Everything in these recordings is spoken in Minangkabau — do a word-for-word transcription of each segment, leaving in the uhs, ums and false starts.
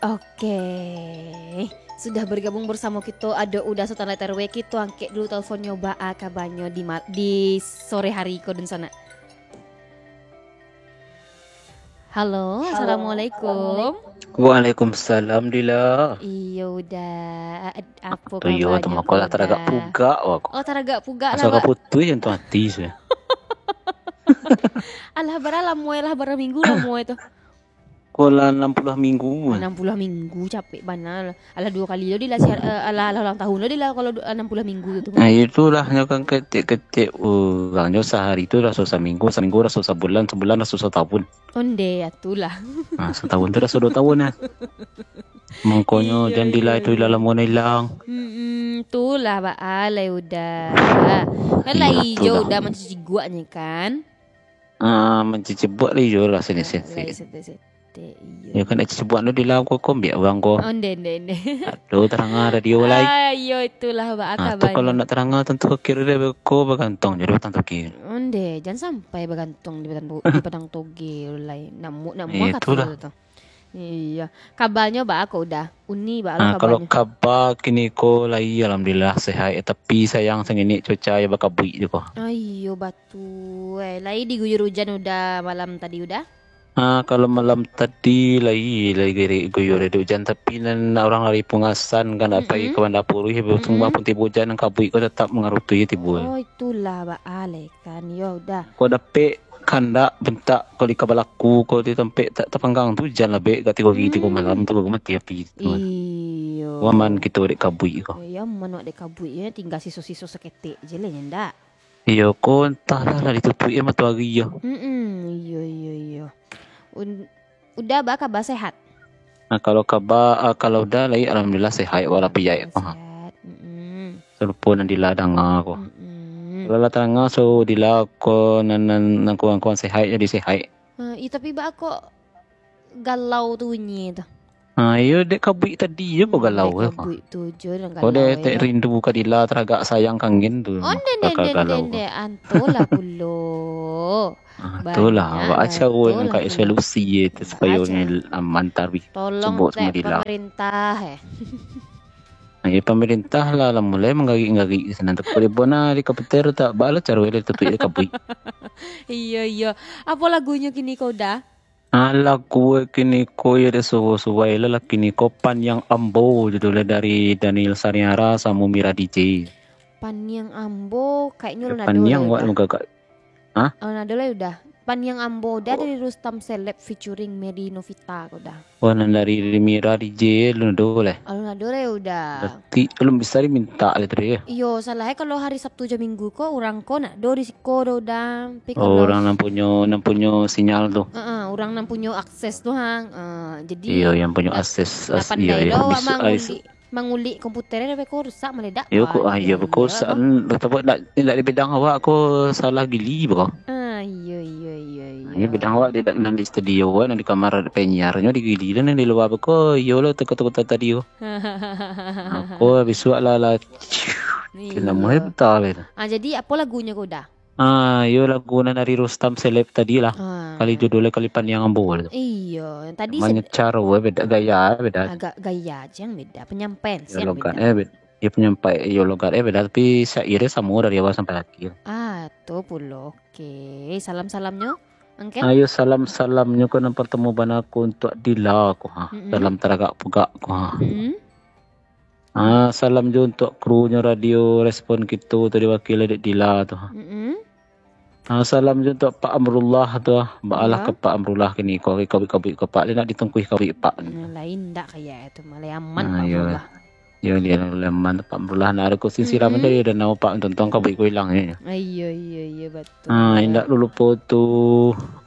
Oke. Sudah bergabung bersamo kito, ado Uda Sultan Letter W. Kito angkek dulu telponnyo, baa kabanyo di ma-, di sore hari ko, dunsanak. Halo, assalamualaikum. Waalaikumsalam, Dila. Iyo, Uda. Ad-, apo kabanyo, Uda? Iyo, tu mako lah taragak pugak wak ko. Oh, taragak pugak lah, Bak. Asa ka putuih jantuang ati se. Alah, bara lamo, alah, bara minggu lamo tu? Ko lah anam puluah minggu. Anam puluah minggu, capek bana. Alah, duo kali lo Dila siar-, eh, alah, alah ulang tahun lo Dila kalau du-, anam puluah minggu tu. Nah, itulah, nyo kan ketek-ketek urang nyo sahari tu raso saminggu, saminggu raso sabulan, sabulan raso satahun. Onde, ya tulah. Nah, satahun tu raso duo tahun, ya. Mangkonyo jan Dila itu ilang lamo na ilang. Mm-mm, tulah, baa lai Uda. Kan lah iyo, Uda mancuci guak nyo kan. Ah, mancuci guak lah iyo lah sini-sini. Lai sete-sete, iyo. Ya kan, cuci guak tu Dila ko, ko ambiak urang ko. Onde, onde, onde. Aduh, taranga radio lai. Ah, iyo, itulah, baa kabanyo. Ah, tu kalau nak taranga tantu kiri dia ko bagantuang jadi batang toki. Onde, jan sampai bagantuang di batang to-, di batang toge lai. Namuak, namuak kato tu. Iyo. Kabanyo baa ko Uda? Uni baa lo kabanyo? Ah, kalau kaba kini ko lai, alhamdulillah, sehat. Eh, tapi sayang sangini cuaca yo bakabuik tu ko. Ah, iyo, batua. Lai diguyur ujan Uda malam tadi Uda? Ah, kalau malam tadi lai, lai giri-, guyur ado ujan, tapi nan urang dari Pungasan kan nak pai ka Banda Puruih, tunggu pun tibo ujan, nan kabuik ko tatap mangarutuih tibo. Oh, itulah baa lai kan, yo Uda. Ko dapek kandak bentak ko di kabalaku ko di tampek tak tapanggang tu ujan labek ka tigo hari tigo malam tu baru mati api tu. Iyo. Aman kito dek kabuik ko. Iyo, aman wak dek kabuik yo, tingga siso-siso saketek je lah nyo ndak. Iyo ko, antahlah lah ditutuik yo matoari yo. Mm-mm, iyo, iyo, iyo. Un-, Uda baa kaba, sehat? Nah, kalau kaba, ah, kalau Uda lai, alhamdulillah sehat walafiat. Sehat. Mm-mm. Sarupo nan Dila danga ko. Mm-mm. Kalau lah tadanga suaro Dila ko nan, nan, nan kurang-kurang sehat jadi sehat. Ah, ih, tapi baa kok galau tu bunyi tu? Ah, iyo, dek kabuik tadi je ko galau ko. Dek kabuik tu je nan galau. Ko dek rindu ka Dila, taragak sayang kangen tu. Onde, onde, onde, onde. Antolah pulo. Ah, itulah, awak aja awak nan ka solusi je tu supayo ni aman tadi. Tolong dek pamarintah, eh. Ayo, pamarintah lah, lah mulai manggarik-ngarik di sinan tu. Boleh bona di komputer tak, baa lah caro dia tutup dia kabuik. Iyo, iyo. Apo lagunyo kini ko Uda? Ah, lagu kini ko yo dek suruh-suruh lah, lah kini ko Paniang Ambo, judulnya dari Daniel Sariara samo Mira D J. Paniang Ambo, kayaknyo alun ado lai Uda. Paniang wak mugagak. Hah? Alun ado lai Uda. Paniang Ambo Uda dari Rustam Seleb featuring Mary Novita ko Uda. Wah, nan dari Mira D J alun ado lai. Alun ado lai Uda. Berarti alun bisa dimintak lai tadi yo. Iyo, salah e kalau hari Sabtu jo Minggu ko urang ko ndak ado di siko doh Uda. Tapi kalau urang nan punyo, nan punyo sinyal tu. Heeh, urang nan punyo akses tu ha. Eh, jadi iyo, yang punyo akses, ndak pandai doh awak mangulik. Mangulik komputer e, beko rusak maledak. Iyo ko, ah, iyo beko rusak. Lah tabuat ndak, ndak di bidang awak ko salah gili beko. Ah, iyo, iyo, iyo, iyo. Iyo bidang awak di, nan di studio, nan di kamar penyiarnyo di gili, nan di lua beko, iyo lo teko-teko tadi ko. Ko bisuak lah, lah. Iyo. Kena mulai betul lah. Ah, jadi apo lagunyo ko Uda? Ah, iyo lagu nan dari Rustam Seleb tadi lah. Ah. Kali judulnyo Kali Paniang Ambo tu. Iyo, yang tadi manyecar, weh, beda gaya, beda. Agak gaya aja yang beda, penyampaian sih yang beda. Iyo, logat, eh, beda. Iyo, penyampaian, iyo, logat, eh, beda, tapi syairnyo samo dari awal sampai akhir. Ah, tu pulo. Oke, salam-salamnyo, Angkel? Ayo, salam-salamnyo ko nan pertama bana ko untuak Dila ko, ha. Mm-mm. Salam taragak pugak ko, ha. Mm-mm. Ah, salam jo untuak krunyo Radio Respon kito tu diwakili dek Dila tu. Mm-mm. Ah, salam jo untuak Pak Amrullah tu. Baalah ka Pak Amrullah kini ko, kabuik-kabuik ko Pak, lai nak ditungkuih kabuik Pak. Nah, lain ndak kaya tu, malah aman Pak Amrullah. Iyo, dia lain aman Pak Amrullah, nak ado ko sisiram aja dia, dan nama Pak tontong kabuik ko ilang je. Ah, iyo, iyo, iyo, betul. Ah, indak lulupo tu,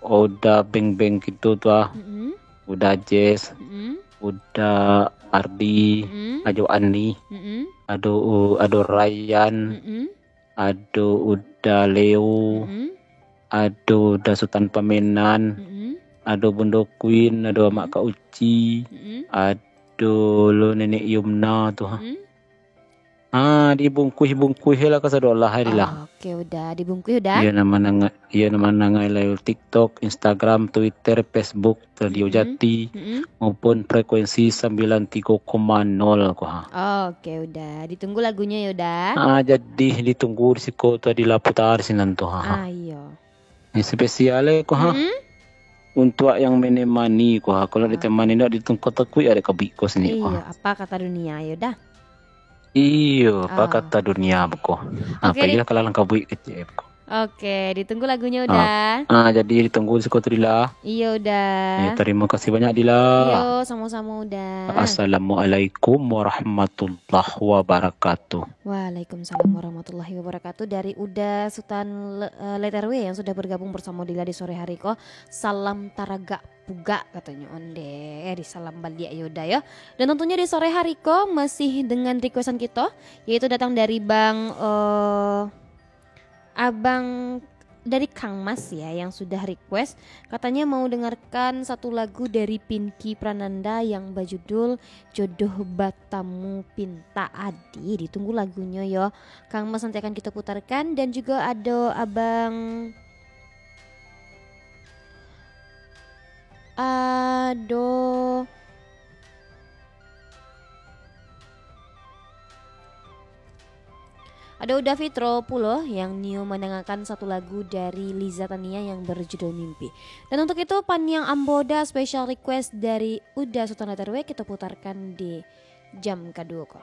Uda beng-beng kito tu ah. Mm-mm. Uda Jess, mm-mm, Uda Ardi, mm-mm, ado Ani, mm-mm, ado, ado Ryan, mm-mm, ado Uda Leo, mm-mm, ado Uda Sutan Pamenan, mm-mm, ado Bundo Queen, ado, mm-mm, Amak Kak Uci, mm-mm, ado lo Nenek Yumna tu ha. Mm-mm. Ah, dibungkuih-bungkuih lah kasadolah hari lah. Oke, Uda, dibungkuih, Uda. Iyo, nama nanga-, iyo, nama nangai live TikTok, Instagram, Twitter, Facebook, Radio Jati, maupun frekuensi sembilan tiga koma nol ko ha. Oke, Uda. Ditunggu lagunya yo, Uda. Ah, jadi ditunggu di siko tu, Adila putar sinan tu ha. Ah, iyo. Ini spesial eh ko ha. Untuak yang menemani ko ha. Kalau ditemani ndak ditunggu takuik ada kabik ko sini ko. Iyo, apa kata dunia yo, Da? Iyo, apa kata dunia beko. Oke, kalau langkah buik kecil beko. Oke, ditunggu lagunya, Uda. Ah, jadi ditunggu di siko tu, Dila. Iyo, Uda. Ya, terima kasih banyak, Dila. Iyo, sama-sama, Uda. Assalamualaikum warahmatullahi wabarakatuh. Waalaikumsalam warahmatullahi wabarakatuh. Dari Uda Sutan Le-, eh, Letter W yang sudah bergabung bersama Dila di sore hari ko. Salam taragak pugak katonyo onde. Eh, di salam baliak yo, Uda, yo. Dan tentunya di sore hari ko masih dengan requestan kito, yaitu datang dari Bang, eh, Abang dari Kang Mas ya, yang sudah request. Katanya mau dengarkan satu lagu dari Pinky Prananda yang berjudul Jodoh Batamu Pinta Adi. Ditunggu lagunya yo. Kang Mas nanti akan kita putarkan. Dan juga ada Abang Ado. Ada Uda Fitro pulo yang nio mandangakan satu lagu dari Liza Tania yang berjudul Mimpi. Dan untuk itu, paniang ambo Uda special request dari Uda Sutan Letter W, kita putarkan di jam kaduo ko.